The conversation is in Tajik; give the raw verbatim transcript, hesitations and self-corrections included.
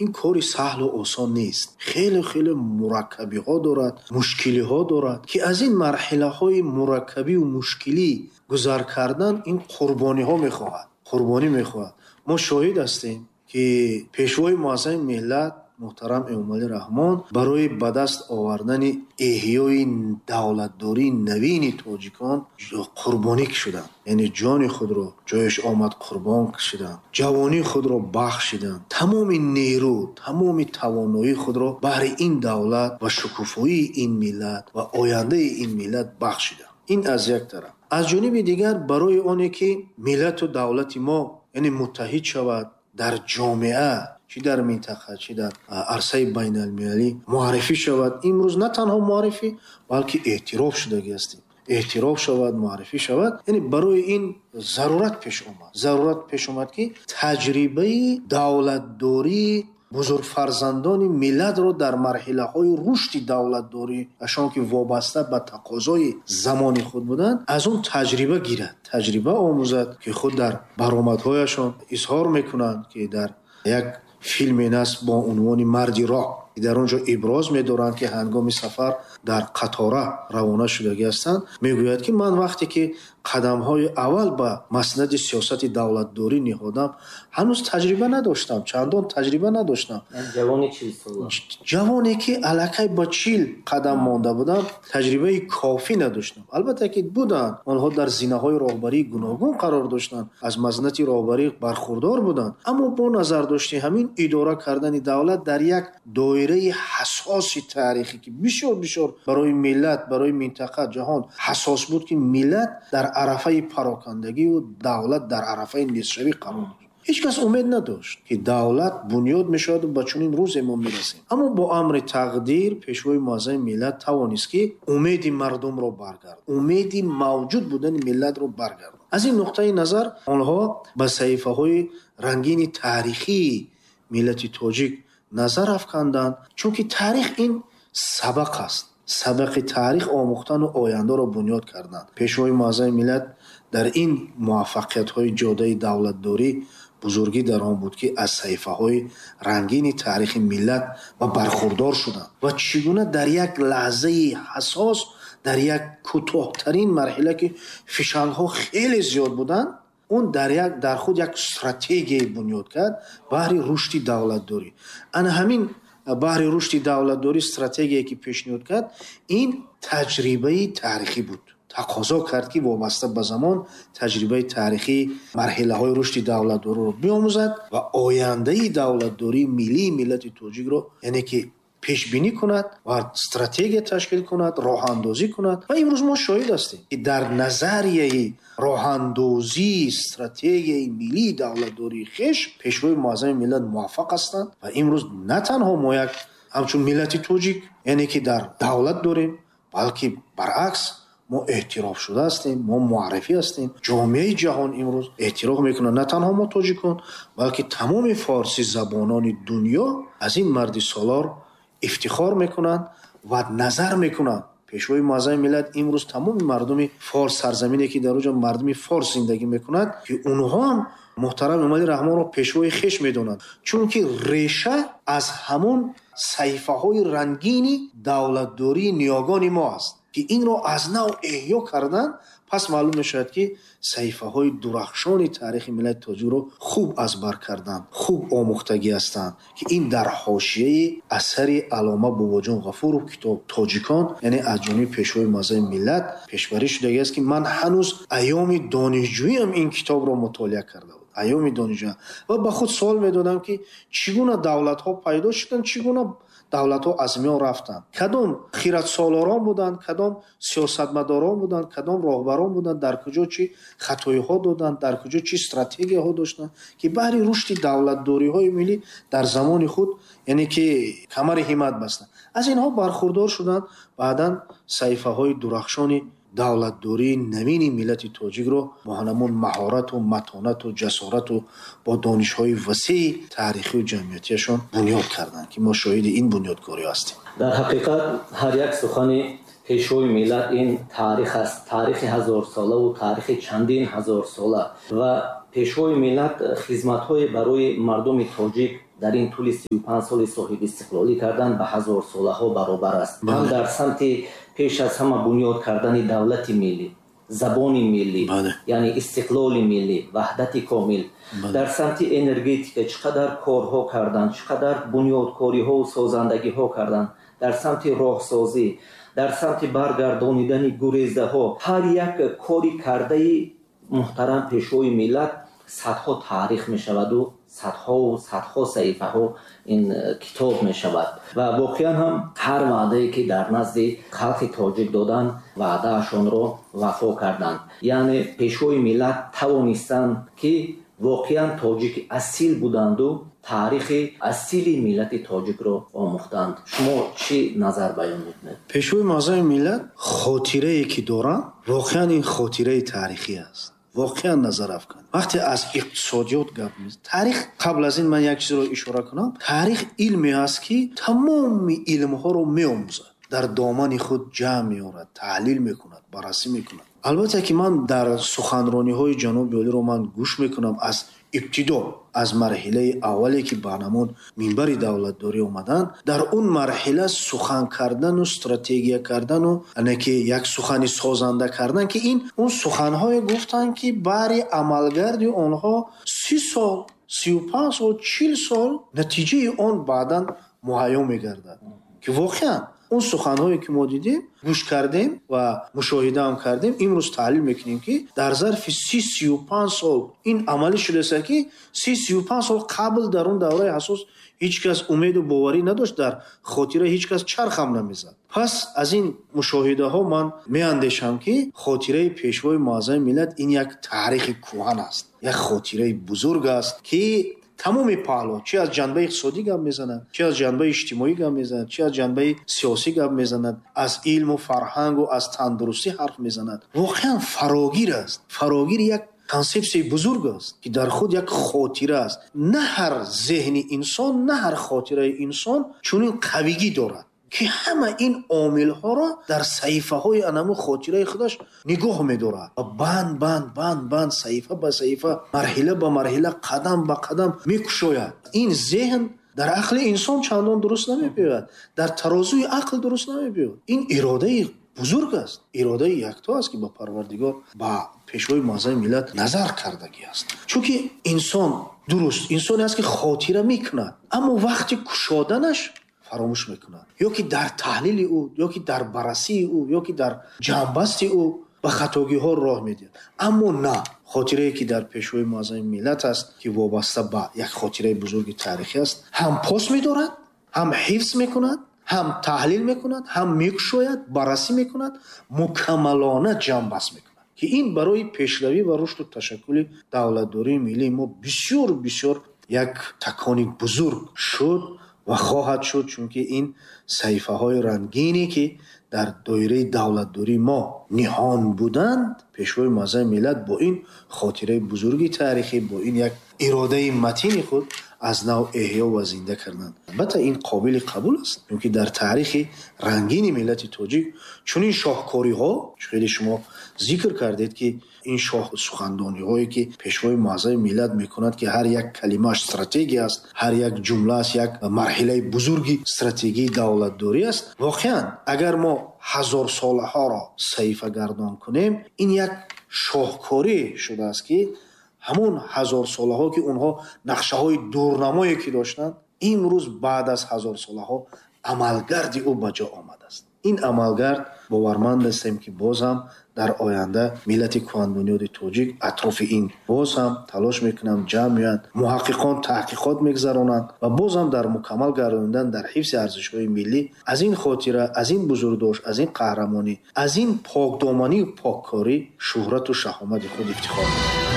Ин кори саҳлу осон нест, хеле хеле мураккабиҳо дорад, мушкилиҳо дорад, ки аз ин марҳилаҳои мураккабию мушкилӣ гузар кардан ин қурбониҳо мехоҳад, қурбонӣ мехоҳад. Мо шоҳид ҳастем, ки Пешвои Муаззами миллат муҳтарам Эмомалӣ Раҳмон барои ба даст овардани эҳёи давлатдории навини тоҷикон қурбонӣ кашиданд, яъне ҷони худро ҷояш омад қурбон кашиданд, ҷавонии худро бахшиданд, тамоми нерӯ, тамоми тавоноии худро баҳри ин давлат ва шукуфоии ин миллат ва ояндаи ин миллат бахшиданд. Ин аз як тараф. Аз ҷониби дигар, барои оне ки миллату давлати мо, яъне муттаҳид шавад дар ҷомеа, чӣ дар минтақа, чӣ дар арсаи байналмилалӣ муаррифӣ шавад. Имрӯз на танҳо муаррифӣ, балки эътироф шудагӣ ҳастем. Эътироф шавад, муаррифӣ шавад. Яъне барои ин зарурат пеш омад. Зарурат пеш омад, ки таҷрибаи давлатдории бузургфарзандони миллатро дар марҳилаҳои рушди давлатдорӣ, ашон ки вобаста ба тақозои замони худ буданд, аз он таҷриба гирад, таҷриба омӯзад, ки худ дар баромадҳояшон изҳор мекунанд, ки дар як филме аст бо унвони «Марди роҳ», ки дар он ҷо иброз медоранд, ки ҳангоми сафар дар қатора равона шудагӣ ҳастанд, мегӯяд, ки ман вақте ки қадамҳои аввал ба маснади сиёсати давлатдорӣ ниҳодам, ҳанӯз таҷриба надоштам, чандон таҷриба надоштам. Ҷавони чилсола. Ҷавоне ки аллакай ба чил қадам монда будам, таҷрибаи кофӣ надоштам. Албатта ки буданд, онҳо дар зинаҳои роҳбарии гуногун қарор доштанд, аз мазнати роҳбарӣ бархурдор буданд, аммо бо назардошти ҳамин идора кардани давлат дар як доираи ҳассоси таърихӣ, ки бисёр бисёр барои миллат, барои минтақа, ҷаҳон ҳассос буд, ки миллат дар арафаи парокандагию давлат дар арафаи нестшавӣ қарор дошт. Ҳеҷ кас умед надошт, ки давлат бунёд мешаваду ба чунин рӯзе мо мерасем. Аммо бо амри тақдир Пешвои Муаззами миллат тавонист, ки умеди мардумро баргардонад, умеди мавҷуд будани миллатро баргардонад. Аз ин нуқтаи назар онҳо ба саҳифаҳои рангини таърихии миллати тоҷик назар афканданд, чунки таърих ин сабақ аст. Сабақи таърих омӯхтану ояндаро бунёд карданд. Пешвои Муаззами миллат дар ин муваффақиятҳои ҷодаи давлатдорӣ бузургӣ дар он буд, ки аз саҳифаҳои рангини таърихи миллат ва бархурдор шуданд ва чӣ гуна дар як лаҳзаи ҳассос, дар як кӯтоҳтарин марҳила, ки фишангҳо хеле зиёд буданд, он дар як дар худ як стратегияе бунёд кард баҳри рушди давлатдорӣ. Ана ҳамин баҳри рушди давлатдорӣ стратегияе ки пешниҳод кард, ин таҷрибаи таърихӣ буд. Тақозо кард, ки вобаста ба замон таҷрибаи таърихии марҳилаҳои рушди давлатдориро биомӯзад ва ояндаи давлатдории миллии миллати тоҷикро, яъне ки пешбинӣ кунад ва стратегия ташкил кунад, роҳандозӣ кунад. Ва имрӯз мо шоҳид ҳастем, ки дар назарияи роҳандозии стратегияи миллии давлатдории хеш Пешвои Муаззами миллат муваффақ ҳастанд. Ва имрӯз на танҳо мо як ҳамчун миллати тоҷик, яъне ки дар давлат дорем, балки баръакс мо эътироф шуда ҳастем, мо муаррифӣ ҳастем. Ҷомеаи ҷаҳон имрӯз эътироф мекунад, на танҳо мо тоҷикон, балки тамоми форсизабонони дунё аз ин марди солор ифтихор мекунанд ва назар мекунанд. Пешвои Муаззами миллат имрӯз тамоми мардуми форс, сарзамине ки дар он ҷо мардуми форс зиндагӣ мекунад, ки онҳо ҳам муҳтарам Эмомалӣ Раҳмонро пешвои хеш медонанд, чунки реша аз ҳамон саҳифаҳои рангини давлатдории ниёгони мо аст, ки инро аз нав эҳё кардан. Пас маълум мешавад, ки саҳифаҳои дурахшони таърихи миллати тоҷикро хуб аз бар карданд, хуб омӯхтагӣ ҳастанд, ки ин дар ҳошияи асари аллома Бобоҷон Ғафуров китоб «Тоҷикон», яъне аз ҷониби Пешвои Муаззами миллат пешбарӣ шудагӣ аст, ки ман ҳанӯз айёми донишҷӯиам ин китобро мутолиа карда будам, айёми донишҷӯ, ва ба худ суол медодам, ки чӣ гуна давлатҳо пайдо шуданд, чӣ гуна давлатҳо аз миён рафтанд, кадом хиратсолорон буданд, кадом сиёсатмадорон буданд, кадом роҳбарон буданд, дар куҷо чӣ хатоиҳо доданд, дар куҷо чӣ стратегияҳо доштанд, ки баҳри рушди давлатдориҳои миллӣ дар замони худ, яъне ки камари ҳиммат бастанд. Аз инҳо бархурдор шуданд, баъдан саҳифаҳои дурахшони давлатдории навини миллати тоҷикро бо ҳамон маҳорату матонату ҷасорату бо донишҳои васеи таърихию ҷамъиятиашон бунёд карданд, ки мо шоҳиди ин бунёдкорӣ ҳастем. Дар ҳақиқат, ҳар як сухани Пешвои миллат ин таърих аст, таърихи ҳазорсолаву таърихи чандин ҳазорсола. Ва Пешвои миллат хизматҳое барои мардуми тоҷик Дар ин тӯли сию панҷ соли соҳиби истиқлолӣ карданд, ба ҳазорсолаҳо баробар аст. Ҳам дар самти пеш аз ҳама бунёд кардани давлати миллӣ, забони миллӣ, яъне истиқлоли миллӣ, ваҳдати комил, дар самти энергетика чӣ қадар корҳо карданд, чӣ қадар бунёдкориҳову созандагиҳо карданд, дар самти роҳсозӣ, дар самти баргардонидани гурезаҳо, ҳар як кори кардаи муҳтарам пешвои миллат садҳо таърих мешаваду садҳову садҳо саҳифаҳо ин китоб мешавад. Ва воқеан ҳам ҳар ваъдае ки дар назди халқи тоҷик доданд, ваъдаашонро вафо карданд. Яъне пешвои миллат тавонистанд ки воқеан тоҷики асил буданду таърихи асили миллати тоҷикро омӯхтанд. Шумо чӣ назар баён мекунед? Пешвои муаззами миллат хотирае ки доранд, воқеан ин хотираи таърихӣ аст. Воқеан назар афкан. Вақте аз иқтисодиёт гап мезанем, таърих, қабл аз ин ман як чизро ишора кунам, таърих илме аст ки тамоми илмҳоро меомӯзад, дар домани худ ҷамъ меорад, таҳлил мекунад, баррасӣ мекунад. Албатта ки ман дар суханрониҳои ҷаноби олиро ман гӯш мекунам аз ибтидо, аз марҳилаи аввале ки ба ҳамон минбари давлатдорӣ омаданд, дар он марҳила сухан кардану стратегия кардану ане ки як сухани созанда кардан, ки ин он суханҳое гуфтанд ки бари амалгарди онҳо си сол, сию панҷ сол, чил сол натиҷаи он баъдан муҳайё мегардад, ки воқеан он суханҳое ки мо дидем, гӯш кардем ва мушоҳида ҳам кардем, имрӯз таҳлил мекунем ки дар зарфи си сию панҷ сол ин амалӣ шудааст ки си сию панҷ сол қабл дар он давраи ҳассос ҳеҷ кас умеду боварӣ надошт, дар хотира ҳеҷ кас чарх ҳам намезад. Пас аз ин мушоҳидаҳо ман меандешам ки хотираи пешвои муаззами миллат ин як таърихи кӯҳан аст, як хотираи бузург аст ки тамоми паҳлӯ, чи аз ҷанбаи иқтисодӣ гап мезанад, чи аз ҷанбаи иҷтимоӣ гап мезанад, чи аз ҷанбаи сиёсӣ гап мезанад, аз илму фарҳангу аз тандурустӣ ҳарф мезанад. Воқеан фарогир аст. Фарогир як консепсияи бузург аст ки дар худ як хотира аст. На ҳар зеҳни инсон, на ҳар хотираи инсон чунин қавигӣ дорад ки ҳама ин омилҳоро дар саҳифаҳои анаму хотираи худаш нигоҳ медорад ва банд банд банд банд, саҳифа ба саҳифа, марҳила ба марҳила, қадам ба қадам мекушояд. Ин зеҳн дар ақли инсон чандон дуруст намебиёяд, дар тарозуи ақл дуруст намебиёяд. Ин иродаи бузург аст, иродаи якто аст ки ба Парвардигор, ба пешвои муаззами миллат назар кардагӣ аст. Чунки инсон дуруст инсоне аст ки хотира мекунад, аммо вақти кушоданаш фаромӯш мекунад, ё ки дар таҳлили ӯ, ё ки дар баррасии ӯ, ё ки дар ҷамъбасти ӯ ба хатогиҳо роҳ медиҳад. Аммо на хотирае ки дар пешвои муаззами миллат аст, ки вобаста ба як хотираи бузурги таърихӣ аст, ҳам пос медорад, ҳам ҳифз мекунад, ҳам таҳлил мекунад, ҳам мекушояд, баррасӣ мекунад, мукаммалона ҷамъбаст мекунад, ки ин барои пешравӣ ва рушду ташаккули давлатдории миллии мо бисёр бисёр як такони бузург шуд ва хоҳад шуд, чунки ин саҳифаҳои рангине ки дар доираи давлатдории мо ниҳон буданд, пешвои муаззами миллат бо ин хотираи бузурги таърихӣ, бо ин як иродаи матини худ аз нав эҳё ва зинда карданд. Албатта ин қобили қабул аст, чунки дар таърихи рангини миллати тоҷик чунин шоҳкориҳо, хеле шумо зикр кардед ки ин шоҳ сухандониҳое ки пешвои муаззами миллат мекунад, ки ҳар як калимааш стратегия аст, ҳар як ҷумлааш як марҳилаи бузурги стратегияи давлатдорӣ аст. Воқеан агар мо ҳазорсолаҳоро саҳифагардон кунем, ин як шоҳкорӣ шудааст ки ҳамон ҳазорсолаҳо ки онҳо нақшаҳои дурнамое ки доштанд, имрӯз баъд аз ҳазорсолаҳо амалгарди ӯ ба ҷо омадааст. Ин амалгард боварманд ҳастем ки боз ҳам дар оянда миллати кӯҳанбунёди тоҷик атрофи ин боз ҳам талош мекунанд, ҷамъ меоянд, муҳаққиқон таҳқиқот мегузаронанд ва боз ҳам дар мукаммал гардонидан, дар ҳифзи арзишҳои миллӣ аз ин хотира, аз ин бузургдошт, аз ин қаҳрамонӣ, аз ин покдоманию поккорӣ шӯҳрату шаҳомати худ ифтихор мекунанд.